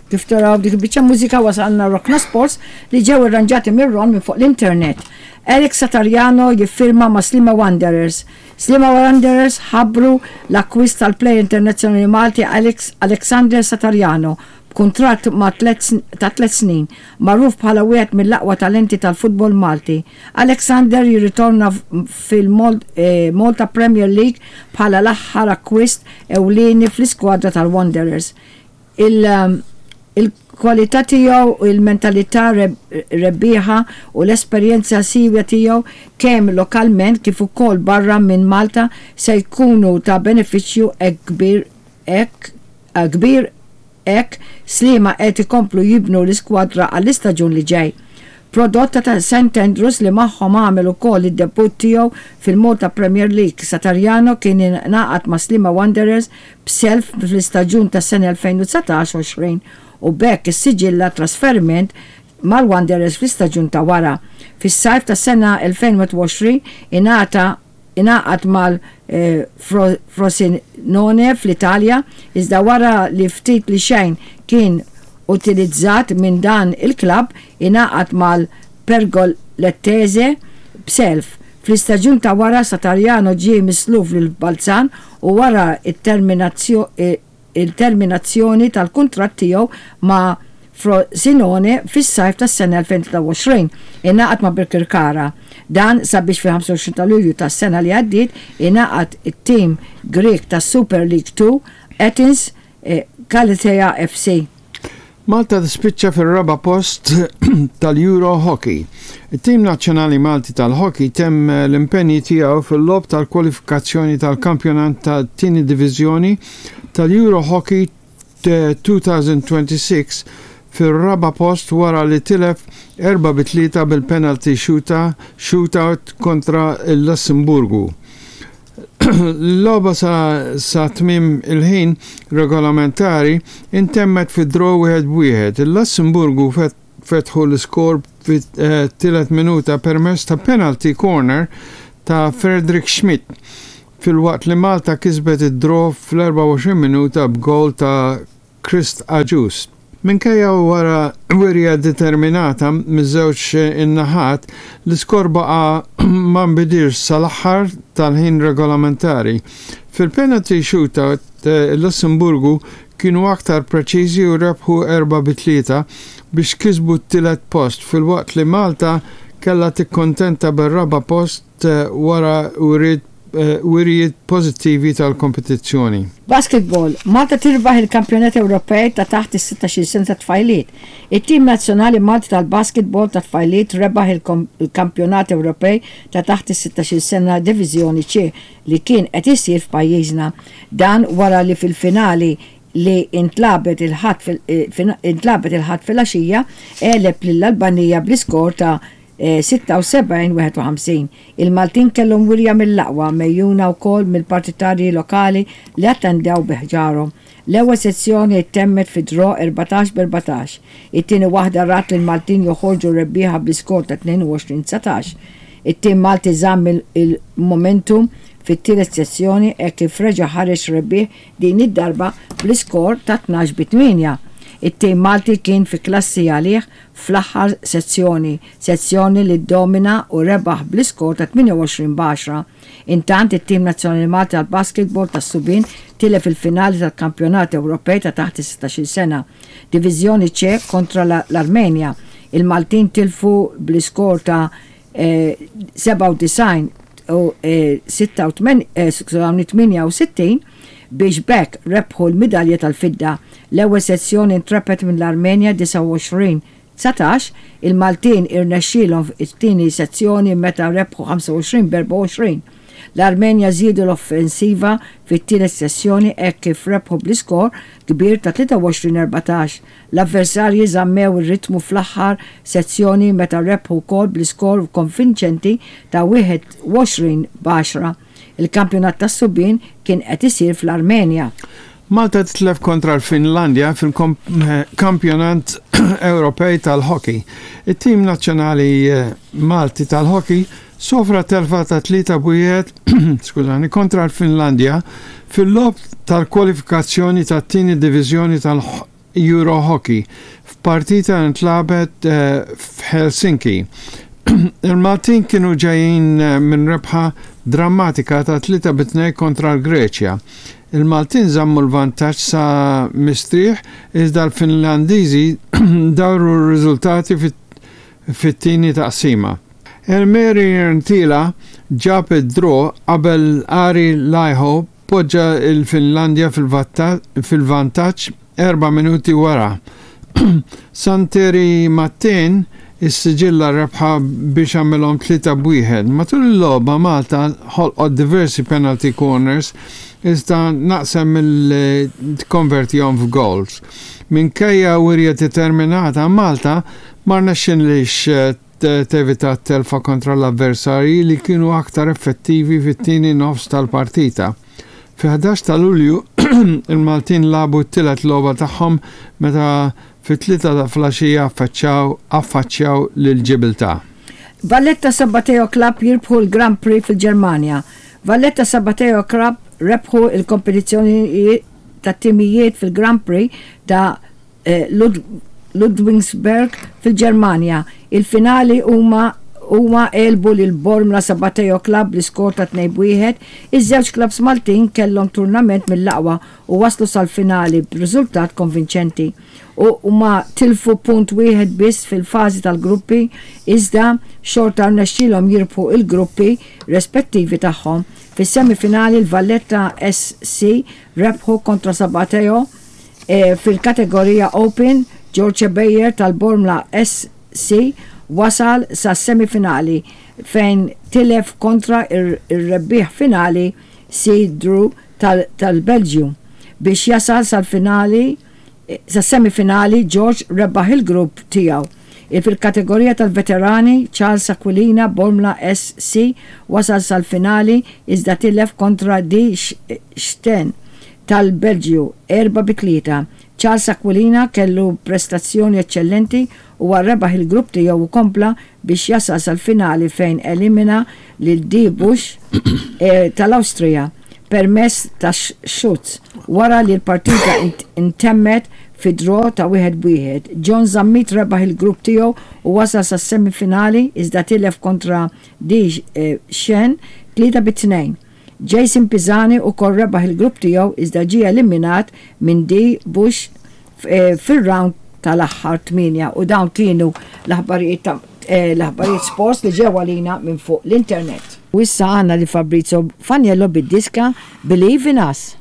Kif taraw dik il-biċċa mużika wasalna Rockna Sports li ġew irranġati minn Ron minn fuq l-internet. Alex Satariano jiffirma ma' Sliema Wanderers. Sliema Wanderers ħabbru l-akkwist tal-plejer internazzjonali Malti Alex Alexander Satariano b'kuntratt ma' ta' tlett snin, magħruf bħala wieħed mill-aqwa talenti tal-futbol Malti. Alexander jirritorna fil-Malta Premier League bħala l-aħħar akkwist ewlieni fl-iskwadra tal-Wanderers. Il-kwalità tiegħu, il-mentalità rebbieħa u l-esperjenza siewja tiegħu kemm lokalment kif ukoll barra minn Malta se jkunu ta' benefiċċju hekk kbir hekk kbir hekk Sliema qed ikomplu jibnu l-iskwadra għall-istaġun li ġej. Prodott ta' St Andrews li magħhom għamel ukoll id-debutt tiegħu fil-Malta Premier League, Satariano kien ingħaqad ma' Sliema Wanderers b'self fl-istaġun tas-sena 2019-20 u b'hekk issiġilla trasferiment mal-Wanderers fl-istaġun ta' wara. Fis-sajf tas-sena 2021 ingħata ingħaqad mal-Frosinone fl-Italja, iżda wara li ftit li xejn kien utilizzat minn dan il-klabb, ingħaqad mal-Pergolettese b'self. Fl-istaġun ta' wara Satariano ġie misluf lil Balzan u wara t-terminazzjoni tal-kuntratt tiegħu ma' Frosinone fis-sajf tas-sena 2023, ingħaqad ma' Birkirkara. Dan sabiex fil-25 ta' Lulju tas-sena li għaddiet ingħaqad it-tim Grieg tas-Super League 2, Athens Kallithea FC. Malta tispiċċa fir-raba' post tal-Euro Hockey. It-tim nazzjonali Malti tal-hockey temm l-impenji tiegħu fil-logħob tal-kwalifikazzjoni tal-kampjonat tat-tieni diviżjoni tal-Euro Hockey 2026 fir-raba' post wara li tilef 4 bi 3 bil-penalty shootout kontra l-Lussemburgu. L-logħba sa, sa tmiem il-ħin regolamentari intemmet fi draw 1-1. Il-Lussemburgu fetħu l-iskor fit-tielet minuta permezz ta' penalty corner ta' Frederick Schmidt filwaqt li Malta kisbet id-draw fl-24 minuta b'gowl ta' Christ Agius. Minkejja wara wirja determinata miż-żewġ in-naħat, l-iskor baqa' ma nbidilx sal-aħħar tal-ħin regolamentari. Fil-penalty shootout, il-Lussemburgu kienu aktar preċiżi u rebħu 4 bi 3 biex kisbu t-tielet post filwaqt li Malta kellha tikkontenta bir-raba' post wara wirijiet pożittivi tal-kompetizzjoni. Basketball, Malta tirbaħ il-Kampjonat Ewropej ta' taħt is-16 sena ta' tfajliet. It-tim nazzjonali Malti tal-basketball ta' tfajliet rebaħ il-Kampjonat Ewropej ta' taħt is-16 sena Diviżjoni C li kien qed isir f'pajjiżna. Dan wara li fil-finali li intlagħbet il-Ħadd intlagħbet il-Ħadd filgħaxija għeleb lill-Albanija bl-iskor ta' 76-51. Il-Maltin kellhom wirja mill-aqwa megħjuna wkoll mill-partitarji lokali li attendew bi ħġarhom. L-ewwel sezzjoni ttemmet fi draw 14 b'14. It-tieni waħda rat lill-Maltin joħorġu rebbieħa bl-iskor ta' 22-19. It-tim Malti żamm il-momentum fit-tielet sezzjoni hekk kif reġa' ħareġ rebbieħ din id-darba bl-iskor ta' 12 bi 8. It-tim Malti kien fi klassi għalih fl-aħħar sezzjoni, sezzjoni li ddomina u rebaħ bl-iskor ta' 28 b'għaxra. Intant it-tim nazzjonali Malti tal-basketball tas-subien tilef il-finali tal-Kampjonat Ewropej ta' taħt is-16-il sena, Diviżjoni C kontra l-Armenja. Il-Maltin tilfu bl-iskor ta' 97 u 68 biex b'hekk rebħu l-midalja tal-fidda. L-ewwel sezzjoni ntrebħet mill-Armenja 29 19, il-Maltin irnexxielhom it-tieni sezzjoni meta rebħu 25 b'24. L-Armenja żiedu l-offensiva fit-tielet sessjoni hekk kif rebħu bl-iskor kbir ta' 23 14. L-avversarji żammew ir-ritmu fl-aħħar sezzjoni meta rebħu wkoll bl-iskor konvinċenti ta' 21 b'għaxra. Il-kampjonat tas-subien kien qed isir fl-Armenja. Malta titlef kontra l-Finlandja fil-Kampjonat Ewropej tal-Hockey. It-tim nazzjonali Malti tal-hockey sofra telfa ta' 3-1 skużani, kontra l-Finlandja fil-logħob tal-kwalifikazzjoni tat-tieni diviżjoni tal Euro Hockey f'partita li ntlagħbet f'Helsinki. Il-Maltin kienu ġejjin minn rebħa drammatika ta' 3 bi 2 kontra l-Greċja. Il-Maltin żammu l-vantaġġ sa mistrieħ iżda l-Finlandiżi dawru r-riżultati fit-tieni taqsima. Elmeri Rntila ġab id-draw qabel Ari Laiho poġġa l-Finlandja fil-vantaġġ erba' minuti wara. Santeri Mattin issiġilla r-rebħa biex għamilhom 3 b'wieħed. Matul il-logħba Malta ħolqot diversi penalty corners iżda naqset milli tikkonvertihom f'gowls. Minkejja wirja determinata Malta ma rnexxinlhiex tevita t-telfa kontra l-avversarji li kienu aktar effettivi fit-tieni nofs tal-partita. Fi-11 ta' Lulju, il-Maltin lagħbu t-tielet logħba tagħhom meta fit-tlieta ta' filgħaxija affaċċaw affaċċjaw lil Ġibiltà. Valletta Sabbateo Club jirbħu l-Grand Prix fil-Ġermanja Valletta Sabbateo Club rebħu l-kompetizzjoni tat-timijiet fil-Grand Prix ta' Ludwigsburg fil-Ġermanja. Il-finali huma huma għelbu lil Bormla Sabateo Club bl-iskor ta' 2 b'wieħed. Iż-żewġ klabbs Maltin kellhom turnament mill-aqwa u waslu sal-finali b'riżultat konvinċenti. U huma tilfu punt wieħed biss fil-fażi tal-gruppi iżda xorta rnexxielhom jirbħu l-gruppi rispettivi tagħhom. Fis-semifinali l-Valletta SC rebħu kontra Sabateo Fil-kategorija Open, George Beyer tal-Bormla SC wasal sas-semifinali fejn tilef kontra r-rebbieħ finali C Drew tal-Belġju. Biex jasal sal-finali sas-semifinali George rebaħ il-grupp tiegħu. Fil-kategorija tal-Veterani, Charles Aquilina, Bormla SC, wasal sal-finali iżda tilef kontra D Steen tal-Belġju, 4 bi 3. Charles Aquilina kellu prestazzjoni eċċellenti huwa rebaħ il-grupp tiegħu u kompla biex jasal sal-finali fejn elimina lil D Busch tal-Awstrija permezz ta' xuts wara li l-partita ntemmet fi draw ta' wieħed b'wieħed. John Zammit rebaħ il-grupp tiegħu u wasal sas-semifinali iżda tilef kontra D Shen 3 bi 2. Jason Pisani ukoll rebaħ il-grupp tiegħu iżda ġie eliminat minn D Bush fir-round tal-aħħar 8 u dawn kienu l-aħbarijiet ta' l-aħbarijiet sports li ġew għalina minn fuq l-internet. U issa għandna lil Fabrizio Faniello bid-diska Believe in Us.